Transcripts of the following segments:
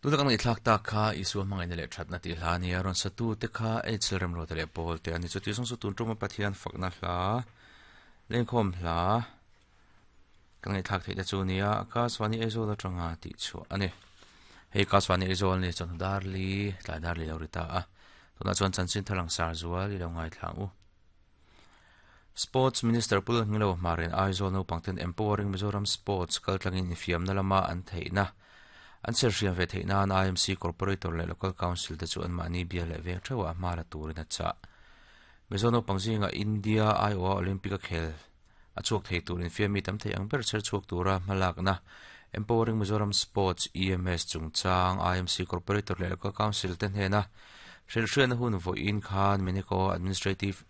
Tuna kan ngaihthlak tak kha Isua hmangaihna leh thatna tih hla a nia, rawn satu te kha Eichel Remruata leh Paul te a ni. Chuti zawng chu tun tuma Pathian fakna hla, lengkhawm hla kan ngaihthlak theih te chu a nia, Akaswani Aizawl atanga tih chhuah a ni. Hei Akaswani Aizawl ni chawhnu dar li, tlai dar li lo ri ta a, tunah chuan chanchin thar ang sar zual i lo ngaithla ang u. Sports Minister Pu Lalhminglo Hmarin Aizawl naupangten Empowering Mizoram Sports kaltlangin infiamna lama an theihna an chherhriam ve theih nan IMC Corporator leh Local Council te chu anmahni bia leh veng theuhah hma la turin a chah. Mizo naupang zingah India aiawha Olympic a khel a chhuak thei tur infiammi tam thei ang ber chher chhuak tura hmalakna Empowering Mizoram Sports, EMS, chungchang IMC Corporator leh Local Council te hnena hrilhhriatna hun vawiin khan Meneko Administrative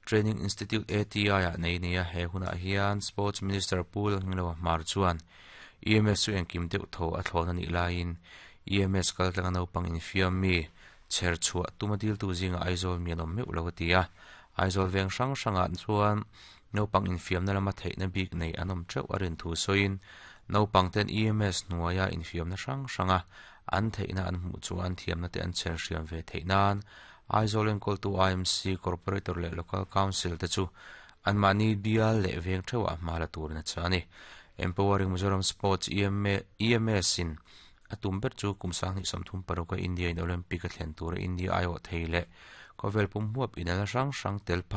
Training Institute, ATI, ah nei nia he hunah hian Sports Minister Pu Lalhmingloa Hmar chuan EMS chu engkim deuh tho a thlawn a nih laiin EMS kaltlanga naupang infiam mi chher chhuah tuma diltu zingah Aizawl mi an awm meuh lo a ti a. Aizawl veng hrang hrangah chuan naupang infiamna lama theihna bik nei an awm teuh a rin thu sawiin naupang ten EMS hnuaia infiamna hrang hranga an theihna an hmuh chu an thiamna te an chher hriam ve theih nan Aizawl enkawltu IMC, Corporator leh Local Council te chu anmahni bial leh veng theuhah hma la turin a chah a ni. Empowering Mizoram Sports, EMA, EMS in a tum ber chu kum 2036 a India in Olympic a thlen tura India aiawh thei leh khawvel pum huap inelna hrang hrang tel pha.